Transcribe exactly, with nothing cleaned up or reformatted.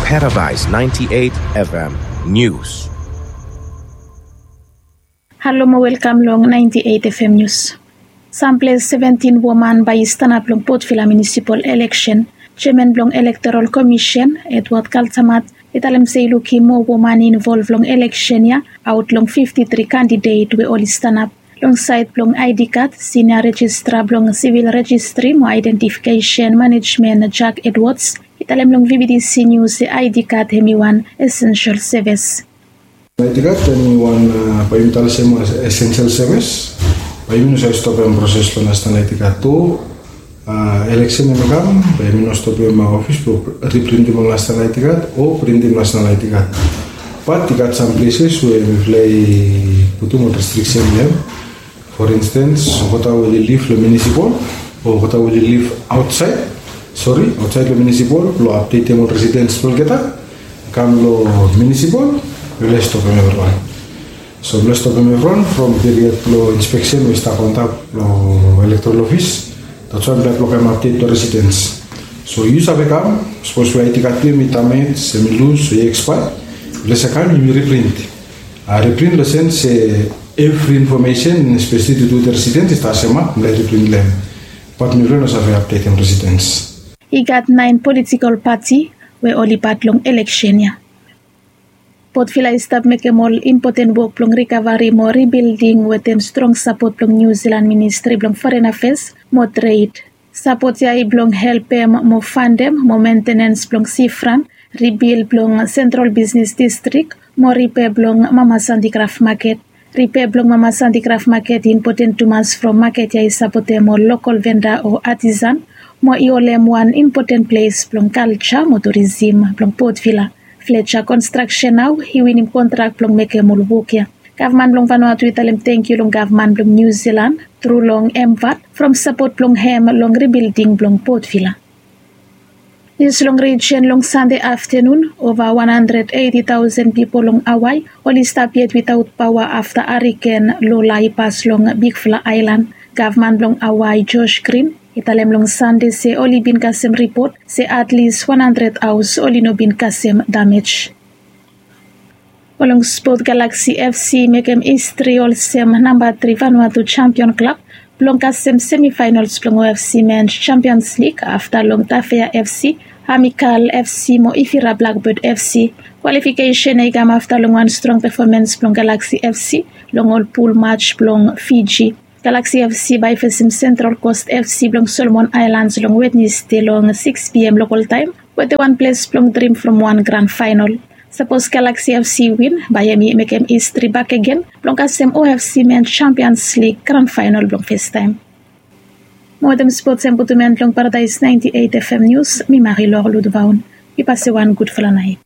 Paradise ninety-eight F M News. Halo mo welkam long ninety-eight F M News. Samples seventeen woman bae i stanap long Port Vila Municipal Election. Chairman blong Electoral Commission, Edward Kaltamat, i talem se i lukim moa woman i involv long election ya aot long fifti tri kandidet we oli stanap. Long saed blong I D card, Senior Registrar blong Civil Registry mo Identification Management, Jack Edwards, i talem long V B T C News se I D card hemi wan essential service. I D card hemi wan, bae yumi talem se hemi wan essential service. Bae yumi no save stopem proses blong National I D card tu. Election hemi kam, bae yumi no stopem ofis blong riprintim ol National I D card o printim National I D card. Bat i gat sam pleses we mifala i putum ol restriksen long hem. For instance, olgeta we oli liv long municipal o olgeta we oli liv aotsaed, sori, aotsaed long municipal blong apdetem ol residens blong olgeta, kam long municipal, yufala i stopem evriwan. So mifala i stopem evriwan from period blong inspeksen we i stap antap long electoral office. That's why mifala i blokem apdet blong residens. So yu save kam, sapos we I D card blong yu hemi damej, hemi lus o i ekspaea, yufala save kam yumi riprint. Riprint long sens se evri infomesen, espeseli tu tu wetem residens, i stap semak, mifala i riprint long hem. Bat mifala no save apdetem residens. I gat naen politikol pati we oli pat long eleksen ya. Port Vila i stap mekem ol impoten wok blong rikavari mo ribilding wetem strong sapot blong Niu Silan Ministri blong Foren Afeas mo Tred. Sapot ya i blong helpem mo fandem mo mentenens blong sifrant, ribil blong Sentral Bisnes Distrik mo ripea blong Mama Santi Kraf Maket. Ripea blong Mama Santi Kraf Maket i impoten tumas from maket ya i sapotem ol lokol venda o atisan mo i holem wan impoten ples blong kalja mo turisim blong Port Vila. Fletcher Construction nao i winim kontrak blong mekem ol wok ya. Gavman blong Vanuatu i talem tangkiu long gavman blong Niu Silan tru long MVAT from sapot blong hem long ribilding blong Port Vila. Nius long rijen long Sande aftenun, ova wan handred eiti taosen pipol long Hawaii oli stap yet witaot paoa afta hariken Lola i pas long bigfala aelan. Gavman blong Hawaii Josh Green i talem long Sande se oli bin kasem ripot se atlis wan handred haos oli no bin kasem damej. Mo long spot, Galaxy FC i mekem histri olsem namba tri Vanuatu jampion klab blong kasem semifaenols blong O F C Men's Champions League afta long Tafea FC, Amikal FC mo Ifira Blackbird FC. Kwalifikesen ya i kam afta long wan strong pefomans blong Galaxy FC long ol pul maj blong Fiji. Galaxy FC bae i fesem Central Coast FC blong Solomon Islands long Wednesde long sikis P M lokol taem wetem wan ples blong drim from wan gran faenol. Sapos Galaxy FC i win, bae hemi mekem histri bakegen blong kasem O F C Men's Champions League gran faenol blong festaem. Mo wetem spots ya mi putum en long Paradise ninety-eight F M News, mi Marilor Ludvaun. Mi pasem wan gudfala naet.